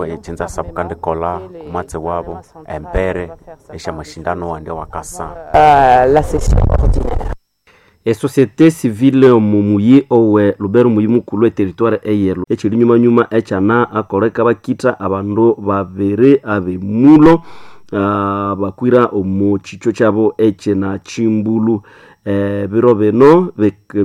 Echinza sabukandikolha omwatsi wabo embere esya mashindano awandi awakasa. La session ordinaire. Esociété civile omu muyi owe Lubero muyi mukulhu eterritoire eyelo ekyiri nyuma-nyuma ekyana akoleka bakitha abandu babiri abemulo bakwira omu kyikyo kyabo ekyina Kimbulu. Ebiro bino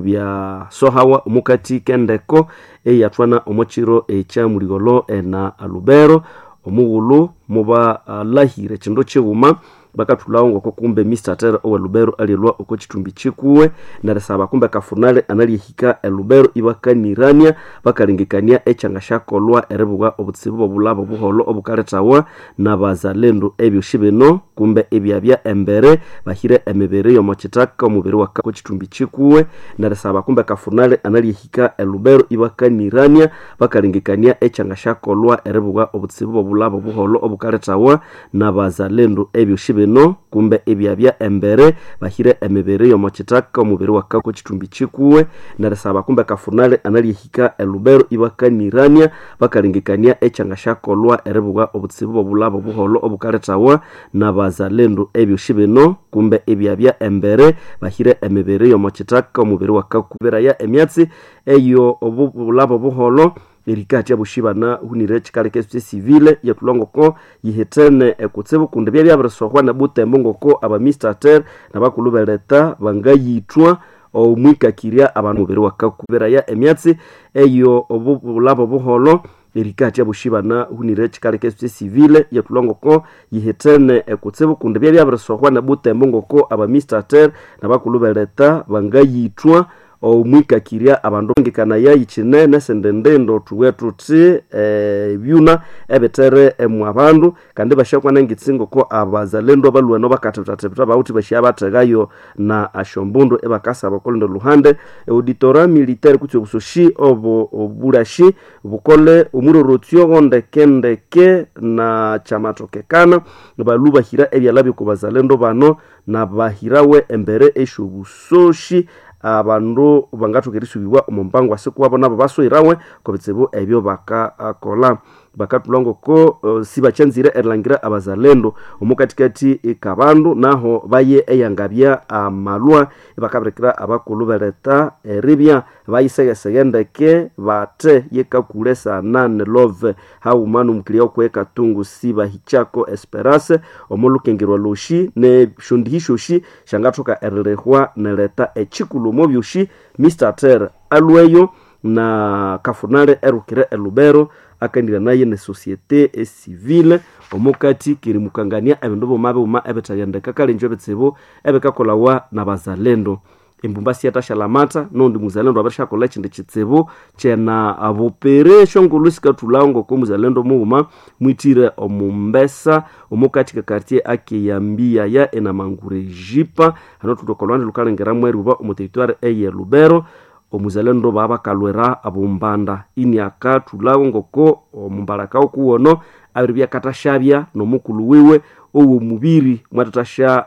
byasohawa omukati k'endeko eyathwana omo kiro ekya muligholo ena Lubero. Omughulhu mubalahira ekindu kighuma bakathulhawo ngoko kumbe Mr Terry owe Lubero alyalhwa oko kithumbi kikuwe nerisaba kumbe kafunale analyahika e Lubero ibakanirania bakalengekania ekyangasyakolhwa eribugha obutsibu bw'obulabo obuholho obukalethawa n'abazalendo. Ebyosi bino kumbe ibyabya embere bahire emibiri y'omo kithaka omubiri wa kithumbi kikuwe nerisaba kumbe kafunale analyahika e Lubero ibakanirania bakalengekania ekyangasyakolhwa eribugha obutsibu bw'obulabo obuholho obukalethawa n'abazalendo. Ebyosi bino kumbe ibyabya embere bahire emibiri y'omo kithaka omubiri wa kithumbi kikuwe nerisaba kumbe kafunale analyahika e Lubero ibakanirania bakalengekania ekyangasyakolhwa eribugha obutsibu bw'obulabo obuholho obukalethawa n'abazalendo. Ebyosi bino kumbe ibyabya embere bahire emibiri y'omo kithaka omubiri wa kakubiraya emyatsi eyo obulabo obuholho erikathya abosi banahunire ekikaleka esociété civile iyathulha ngoko yihithene ekutsibu kundi byabya byabirisohwa nebutembo ngoko aba Mr Terry nabakulhu beleta bangayithwa omwikakirya abandu omubiri wakakubiraya emyatsi eyo obulabo obuholho erikathya abosi banahunire ekikaleka esociété civile iyathulha ngoko yihithene ekutsibu kundi byabya byabirisohwa nebutembo ngoko aba Mr Terry nabakulhu beleta bangayithwa omwikakirya abandu ngikanaya yikinene esindi ndindo thuwe thuthi ebyuna ebithere emwa bandu kandi basyakwana engitsi ngoko abazalendo abalhwene bakathibithathibitha bawuthi basyabathegayo na asyombundu ibakasaba okolundi luhande auditora militaire kutse obusoshi obo obulashi bukole omurorotsyo gondekendeke na kyamathokekana balhu bahira ebyalha byoko bazalendo bano nabahirawe embere esyobusoshi abandu bangathoka erisubibwa omu mpango asikuwabo nabo baswirawe kobitsibu ebyo bakakolha. Bakathulha ngoko sibakyanzire erilhangira abazalendo omukathikathi kabandu naho baye eyangabya amalhwa ibakabirikira abakulhu beletha eribya bayisegheseghe ndeke bathe yekakule sanane love haghuma n'omukilya okwe Katungu sibahikyako Esperance omolhukengerwa lwosi nesyondihi syosi syangathoka erilihwa neletha ekikulhu omo byosi. Mr Terry alhweyo na kafunale erukire e Lubero akaniranaye ne société civile omukathi kerimukangania ebindu bighuma bighuma ebithaghendeka kalenje ebitsibu ebikakolawa n'abazalendo. Embumba siyathasyalhamatha nondi muzalendo abirisyakolha ekindi kitsibu kyena bupiri esyongulhu sikathulhawo ngoko muzalendo mughuma mwithire omumbesa omukathi ka quartier akeyambiyaya enamangurejipa hano thuli oko lwanda lhukalengeramu eryuba omu territoire eye Lubero. Omuzalendo babakalwira abombanda iniakathulhawo ngoko omumbalaka okuwono abiribya akathasyabya n'omukulhu wiwe ow'omubiri mwathathasya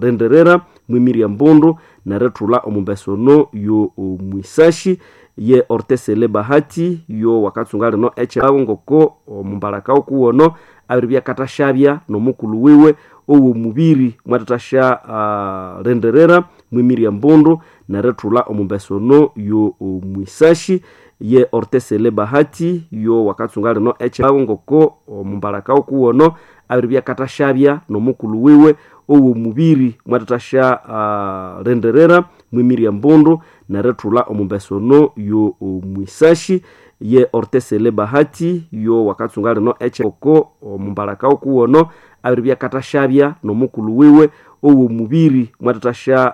lenderera mwimirye embundu nerithulha omumbesa ono yo omwisashi ye Ortesele Bahati yo wakatsunga lino ekyawo ngoko omumbalaka okuwono abiribya akathasyabya n'omukulhu wiwe ow'omubiri mwathathasya lenderera mwimirye embundu nerithulha omumbesa ono yo omwisashi ye Ortesele Bahati yo wakatsunga lino ekyawo ngoko omumbalaka okuwono abiribya akathasyabya n'omukulhu wiwe ow'omubiri mwathathasya lenderera mwimirye embundu nerithulha omumbesa ono yo omwisashi ye Ortesele Bahati yo wakatsunga lino ekyaoko omumbalaka okuwono abiribya akathasyabya n'omukulhu wiwe ow'omubiri mwathathasya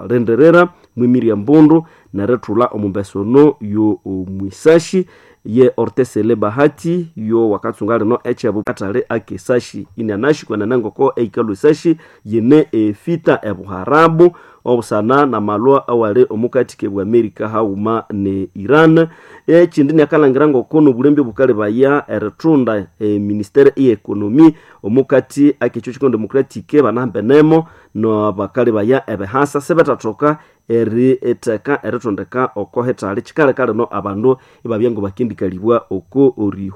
lenderera mwimirye embundu nerithulha omumbesa ono yo omwisashi ye Ortesele Bahati yo wakatsunga lino ekyabu kathali akesashi inianashi kwenene ngoko eikalwa esashi yine efita ebuharabu obusana namalwa awali omukathi kebwa Amerika haghuma ne Iran. Ekindi niakalhangira ngoko nobulembe obukalebaya erithunda eministere eye economy omukathi akekyo kikondo democratic banahambenemo nabakalebaya ebihasa sibethathoka eritheka erithondeka oko hithali kikaleka lino abandu ibabya ngobakendikalibwa oko orihwa.